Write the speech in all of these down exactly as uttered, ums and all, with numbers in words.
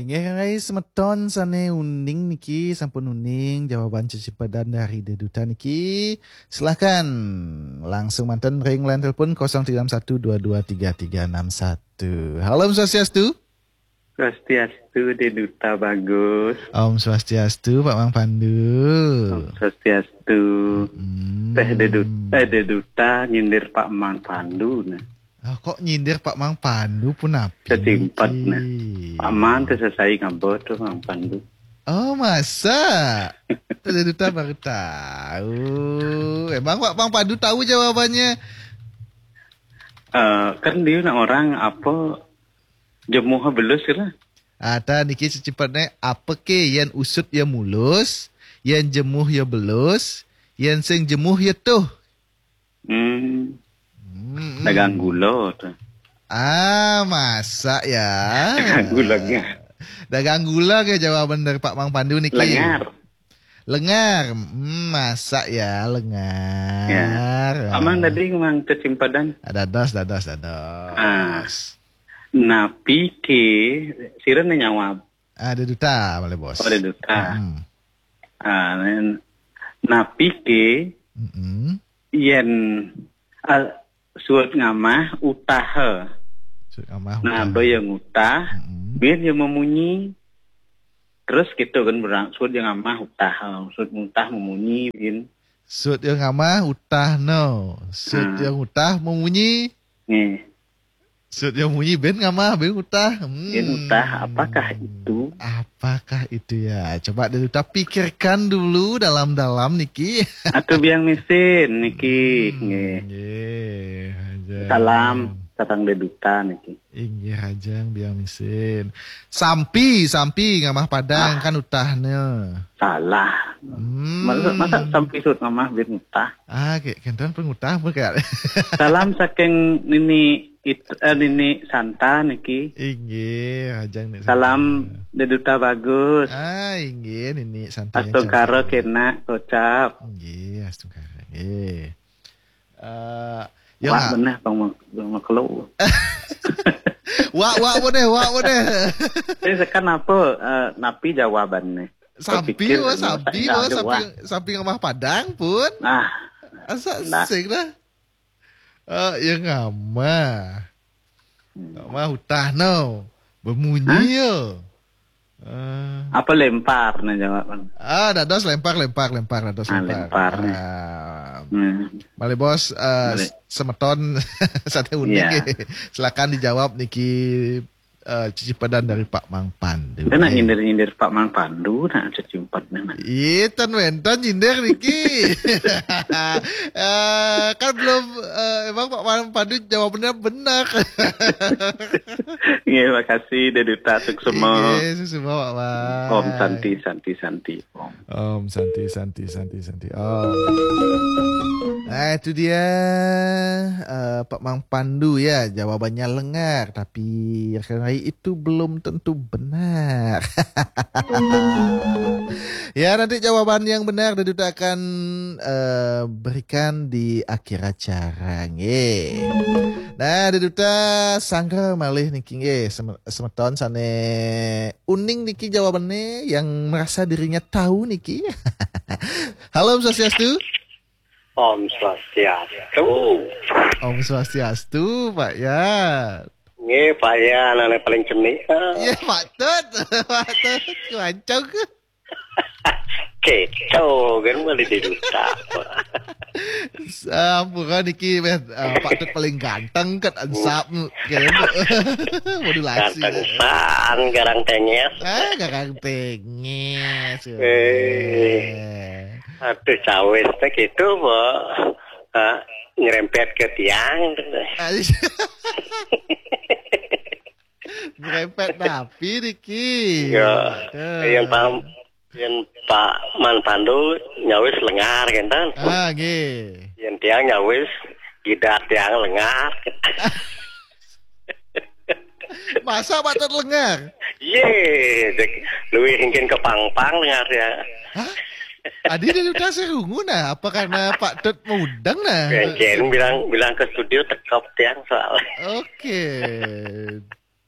Nggih, semeton sane uning niki, sampun uning jawaban cecipedan dari Deduta niki. Silahkan langsung manten ring line telepon kosong tiga enam satu dua dua tiga tiga enam satu. Halo, Om Swastiastu. Swastiastu, Deduta Bagus. Om Swastiastu, Pak Mang Pandu. Om Swastiastu. Hmm. Teh Deduta, eh, Deduta nyindir Pak Mang Pandu, nah. Ah, kok nyindir Pak Mang Pandu pun api? Kecimpet, niki, nah. Pak Mang teh sesai ngabot tuh, Mang Pandu. Oh, masa? Teh Deduta baru tahu. Emang Pak Mang Pandu tahu jawabannya? Eh, kan dia nak orang apa, jemuh belus kira. Ata niki cecipetne, apa ke yen usut ya mulus, yen jemuh ya belus, yen sing jemuh ya tuh. Hmm. Hmm. Dagang gula tuh. Ah, masa ya? Dagang gula, nggih. Dagang gula ke jawaban dari Pak Mang Pandu niki. Lengar. Lengar. Hmm, masa ya, lengar. Ya. Aman tadi, Mang, kecimpadan. Dados, dados, dados. Ah. Napi ke, sira ne nyawab? Ah, Deduta, malih, Bos. Oh, Deduta. Hmm. Ah, nen-, napi ke, mm-mm, yen, ah, suud ngamah utaha. Suud ngamah utaha. Nah, aba ya ngutah, mm-mm, bin ya memunyi. Terus gitu kan, berang, suud ya ngamah utaha, suud ngutah memunyi, bin. Suud ya ngamah utah no. Suud, hmm, ya ngutah memunyi. Nggih. Suud ya munyi, bin ngamah, bin utah. Hmm. Bin utah, apakah itu? Apakah itu ya? Coba Deduta pikirkan dulu dalam-dalam niki. Atuh biang misin niki. Hmm, nggih. Nggih, Ajeng. Salam, sareng Deduta niki. Inggih, Ajeng, biang misin. Sampi, sampi ngamah Padang, ah, kan utahnya. Salah. Hmm. Masa, masa sampi suud ngamah bin utah? Ah, kayak kenten pun utah pun kayak. Salam saking Nini It-, eh, Nini Santa niki. Inggih, Ajeng Nini Santa. Salam Deduta Bagus. Ah, inggih, Nini Santa yang astungkara cantik. Kena kocap. Inggih, astungkara. Inggih. Eh, ya, wak, Mak. Beneh, Bang Mak-, Bang Maklo. Wak, wak, beneh, wak, beneh. Ini sekarang apa, eh, napi jawabannya? Sampi, pikir, wah, sampi, saya wah, jawab. Sampi, sampi ngamah Padang pun. Nah. Asa nah. Sing dah. Eh, ya ngamah. Hmm. Ngamah utah no. Bemunyi. Hah? Yo. Eh. Apa lempar nah jawaban? Ah, dados lempar, lempar, lempar, dados ah, lempar. Lempar, nih. Ah. Hmm. Malih, Bos, eh, malih. Semeton sate uning, iya, nggih. Silakan dijawab niki, eh, cicipedan dari Pak Mang Pandu. Kita nak nggih. Nyindir-nyindir Pak Mang Pandu, nak cicipet, nak. Iya, ten wenten nyindir niki. Eh, kan belum, eh, emang Pak Mang Pandu jawabannya benar. Nggih, makasih, Deduta, suksema. Nggih, suksema, Pak Mang. Om Santi, Santi, Santi, Om. Om Santi, Santi, Santi, Santi, Om. Nah, itu dia, eh, Pak Mang Pandu ya, jawabannya lengar, tapi rekan-rekan itu belum tentu benar. Ya, nanti jawaban yang benar Deduta akan, eh, berikan di akhir acara, nggih. Nah, Deduta sanggra malih niki, nggih, sem-, semeton sane uning niki jawabannya, yang merasa dirinya tahu niki. Halo, Om Swastiastu. Om Swastiastu. Om Swastiastu, Pak Yan. Nggih, Pak Yan, ane paling cenik. Iya, Pak Tut. Pak Tut, kuancung. Keco, kan, malah Deduta. Sampura niki, meh, eh, Pak Tut paling ganteng, ket ansap, keren. Modulasi. Ganteng san, garang tenges. Ah, garang tenges. Eh. Aduh, cawis teh gitu, Pak. Ah, nyerempet ke tiang. Ah, iya. Nyerempet napi niki? Ya, aduh. Yang paham. Yen Pak Man Pandu nyawis lengar, kenten. Ah, nggih. Yen tiang nyawis gidat tiang lengar. Masa Pak Tut lengar? Ye, dek, luwih engkin kepangpang lengar ya. Hah? Adi dia udah serungu nah, apa karena Pak Tut mudeng nah? Engkin bilang, bilang ke studio tekep tiang soal. Oke.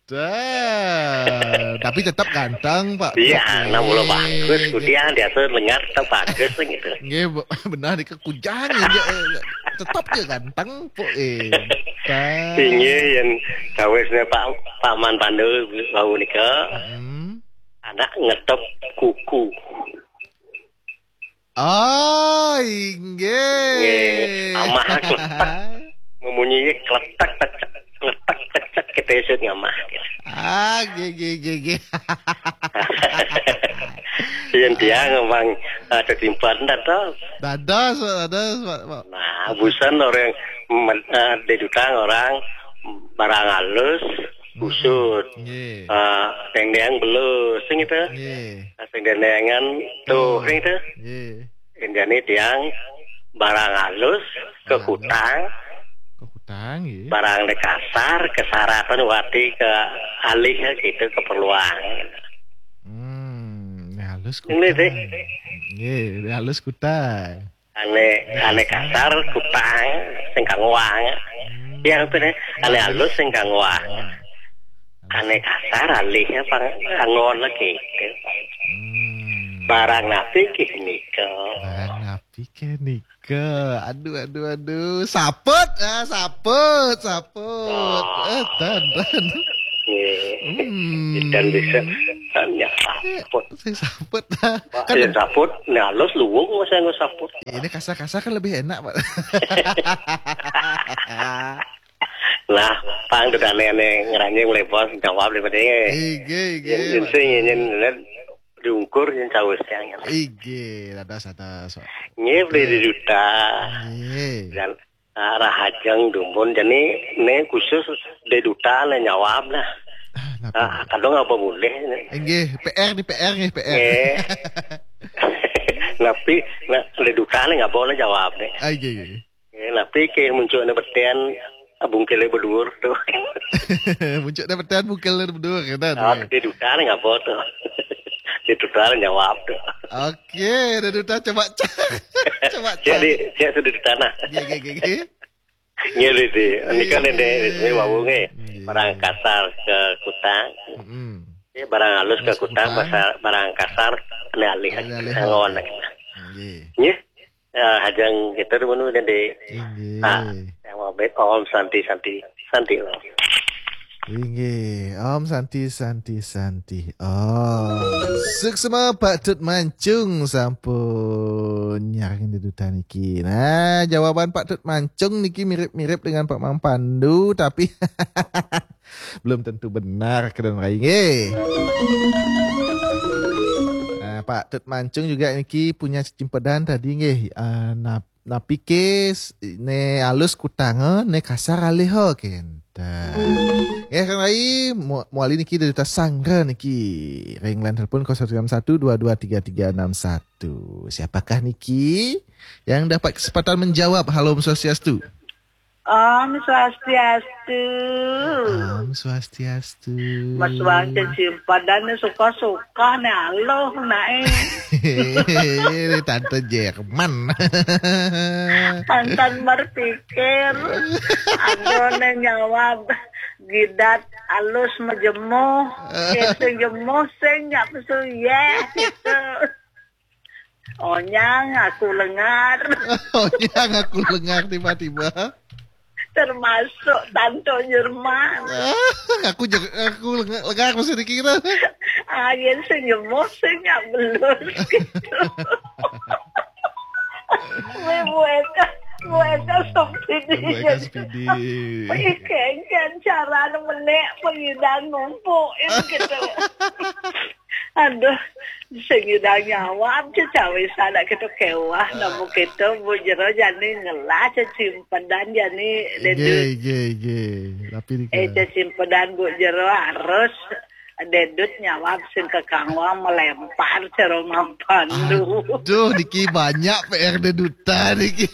Dah. Eh, tapi tetap ganteng, Pak. Iya, Oke. nah mula bagus, kemudian dia tuh lengar tetap bagus gitu. Nggih, bu- benar nika kujang ya, eh, tetap dia ganteng, Pak. Eh, Inggih, yang cawisnya Pak Paman Pandu bau nika, Hmm. anak ngetop kuku. Oh, inggih. Nggih, amah kletek. Memunyi kletek pecek, kletek pecek kita isut ngamah. Ah, gigi, gigi. Yang dia ngembang ada timpan dah tuh. Dados, Pak, dados, Pak. Pak. Nah, busan orang men- eh, dedutang orang barang halus, kusut. Nggih. Eh, dendeng belus, sing itu. Nggih. Sing dendengan tuh, sing itu. Nggih. Indiane tiang barang halus, kekutang, Kekutang, nggih. Barang de kasar, kesaratan wati ke alih gitu keperluan. Hmm, ini halus Ini sih. Nggih, ini halus kutang. Ane ane kasar kutang sing kangwang. Ya apa nih? Ane halus sing kangwang. Ane kasar alih apa kangwang lagi. Hmm. Barang napi kih nika? Barang napi kih nika? Aduh, aduh, aduh. Saput, ah, saput, saput. Eh, tan, tan. Nggih. Hmm. Dan bisa tanya saput. Saya saput, ah. Pak, ya saput, nah halus luwung saya nggak saput. Ini kasar-kasar kan lebih enak, Pak. Lah, pang tuh aneh-aneh ngeranying mulai bos jawab daripada ini. Ige, ige. Yang sing yang diungkur yang cawisnya. Ige, ada ada. Nggih beli di duta. Nggih. Dan ah, rahajeng dumun jadi ini khusus di duta lah nyawab lah. Ah, napa? Ah, kadang apa boleh ini. Nggih, P R di P R nggih, P R. Nggih. Tapi nah, di duta lah nggak boleh jawab nih. Ah, ige, ige. Nggih, tapi ke muncul ada betian bungkile berdua tuh. Muncul dapetan bukan betul kan? Oh, di duta lah nggak boleh tuh. Di duta lah nyawab tuh. Oke, ada duta coba cek. Coba cek. Jadi, dia sudah di tanah. Ige, ige, ige. Nggih, di ini kan ini ini wau nggih. Nggih. Barang kasar ke kutang. Mm-mm. Ya, barang halus ke Halus ke kutang, kutang. Pasar, barang kasar ini alih Ini alih. ngon. Nggih. Ya, ya hajang kita dulu nanti. Nggih. Ah, yang mau baik Om Santi Santi Santi Om. Inggih, Om Santi, Santi, Santi. Oh, suksma Pak Tut Mancung sampun nyarang di duta niki. Nah, jawaban Pak Tut Mancung niki mirip-mirip dengan Pak Mang Pandu, tapi belum tentu benar, keren rai nggih. Nah, Pak Tut Mancung juga niki punya cecimpedan tadi nggih. Ah, nap- napi ke s- ne halus kutanga, ne kasar alih kenten. Ya kan rai, mu- muali niki dari duta sanggra niki. Ring line telepon kosong sembilan satu dua dua tiga tiga enam satu. Siapakah niki yang dapat kesempatan menjawab? Halo, Om Swastiastu. Om Swastiastu. Om Swastiastu. Mas Wangce Cimpadan ni suka-suka ni aloh nae. Ini Tante Jerman. Tantan berpikir. Aduh ni nyawab gidat alus mejemuh. Eh, sing jemuh sing nyak pesu yeh gitu. Onyang aku lengar. Oh, yang aku lengar tiba-tiba. Termasuk Tanto Jerman. Ah, aku je, aku lengar, lengar masih dikira. Ayen sing jemuh sing nyak belus gitu. Weh, bueka, bueka sepidi. Bueka sepidi. Weh, kengken carane menek pengidang ngumpuk gitu. Aduh, sing idang nyawab cecawe sadak kita kewah namu kita bu jero jani ngelah cecimpedan jani Ige, dedut. Ige, Ige. Tapi di Eh, cecimpedan bu jero harus dedut nyawab sing kekangwang melempar ceromang pandu. Aduh, niki banyak P R dedutan niki.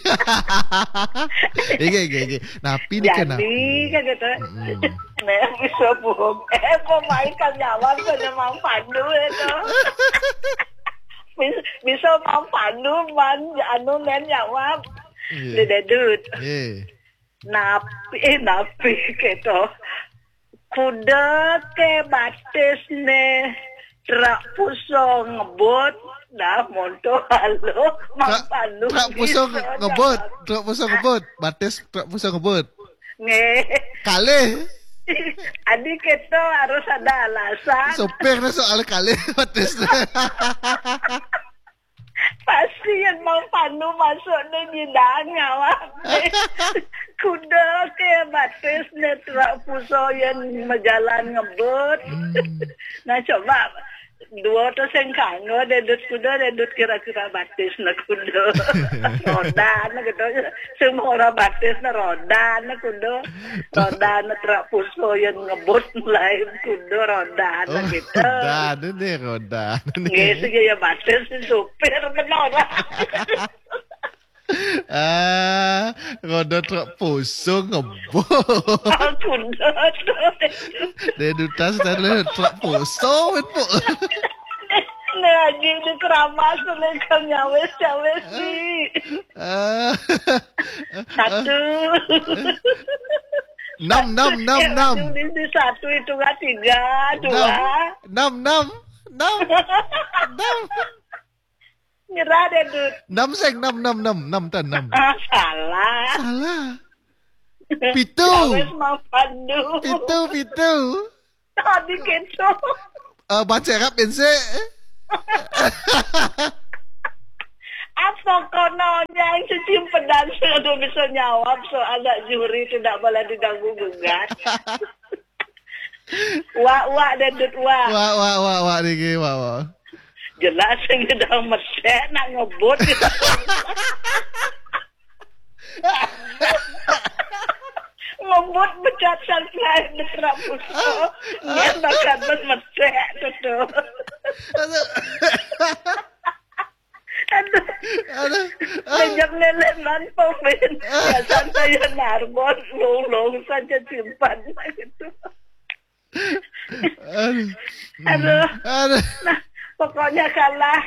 Ige, Ige, Ige. Napi niki nak? Jadi kan gitu. Mm-mm. Nah, bisa buhum. Eh, kok main kan nyawab kan memang pandu itu. Bisa, bisa mang pandu man anu nen nyawab. Iya. Dededut. Iya. Napi, eh, napi gitu. Kuda ke batis ne, trak puso ngebut, dah monto halo, Trak, mampanu trak puso nge- ngebut, trak puso ngebut, batis trak puso ngebut. Nge. Kalih. Adi kita harus ada alasan. Sopir dah soal kalih batis. Pasti yang mampanu masuk ni nyidang awak. Kuda ke batis ne trak puso yang majalan ngebut. Hmm. Nah, coba dua tu sing kanggo dedut kuda, dedut kira-kira batis ne kuda. Roda ne gitu. Semua orang batis ne roda ne kuda. Roda ne trak puso yang ngebut lain kuda roda ne gitu. Roda ne ni, roda ne ni. Nggih, sing ya batis si supir benar. Ah, roda trak puso ngebut. Aku dah tu. Dia dutas tadi trak puso, Ibu. Lagi di keramas tu, kau nyawes-nyawes ni. Ah. Satu. Enam, enam, enam, Eh, enam. Di, di satu itu kan tiga, dua. Enam, enam, enam, enam. Enam. Nyerah deh, Dut. Enam seng, enam, enam, enam, enam tan, enam. Ah, salah. Salah. Pitu. Wes mau pandu. Pitu, pitu. Tadi gitu. Eh, baca rap, Inse. Apa kono yang cicimpedan sudah bisa nyawab soal nak juri tidak boleh diganggu gugat. Wak, wak, dedut, wak. Wak, wak, wak, wak, niki, wak, wak. Jelas sing sedang mesek nak ngebut. Ngebut becat sampai beterap puso. Dia bakal mesek tu tu. Aduh. Aduh. Aduh. Sejak lele mantu, Min. Ya, santai ya, narbon, lulung saja simpan gitu. Aduh. Aduh. Aduh. Nah, pokoknya kalah.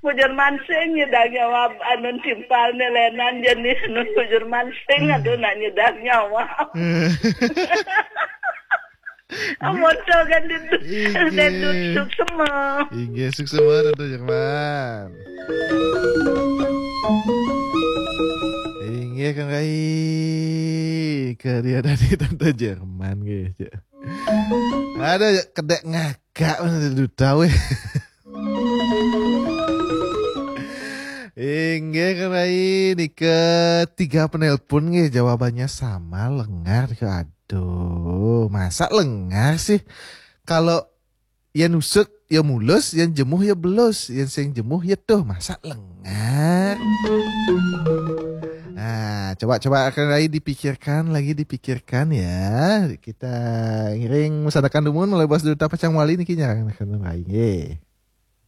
Bujur mansing nyedang nyawa anun timpal ni lenan jenis nun bujur mansing, aduh, nak nyedang nyawa. Amoto kan duduk. Inggih. Duduk suksema. Inggih, suksema, Tante Jerman. Inggih, Kang Rai. Karya dari Tante Jerman, nggih, cek. Ada kedek ngagak, mana duta, weh. Inggih, Kang Rai, nika tiga penelpon nggih, jawabannya sama, lengar. Aduh, masa lengar sih? Kalau yang usut ya mulus, yang jemuh ya belus, yang sing jemuh ya tuh, masa lengar? Nah, coba-coba Kang Rai dipikirkan lagi, dipikirkan ya. Kita ngiring mesanakan dumun melalui bos duta pacang wali niki nya, Kang Rai, nggih.